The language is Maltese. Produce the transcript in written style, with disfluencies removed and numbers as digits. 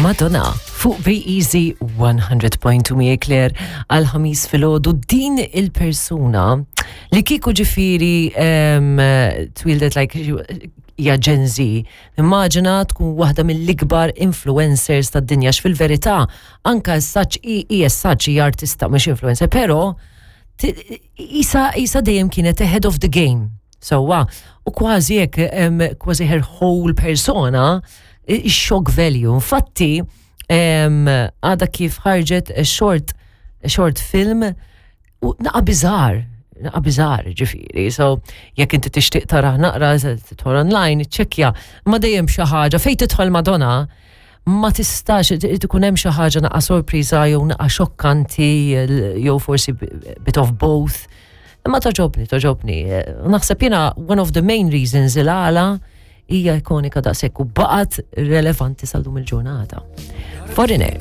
Madonna fuq Be Easy 100.2 miegħi Claire għal ħamis filgħodu din il-persuna li kieku ġifieri twildet like hija Gen Z, immaġina tkun waħda mill-ikbar influencers tad-dinja fil-verità anka s-saċ hija s-saċ hija artista mhux influencer, però isa dejjem kienet ahead of the game. Sewwa, u kważi hekk kważi her whole persona shock value. Infatti, għada kif ħarġet a short film u naqa bizar, naqa bizar ġifieri. So, jekk inti tixtieq tara naqra, tidħol online, ċċekkja, ma dejjem xi ħaġa fejn tidħol Madonna, ma tistax ikun hemm xi ħaġa naqa sorpriża jew naqa xokkanti jew forsi bit of both. Imma togħġobni, togħġobni. Naħseb jiena one of the main reasons il-għala hija ikonika daqshekk u baqgħet relevanti sal-lum il-ġurnata. Foreigner.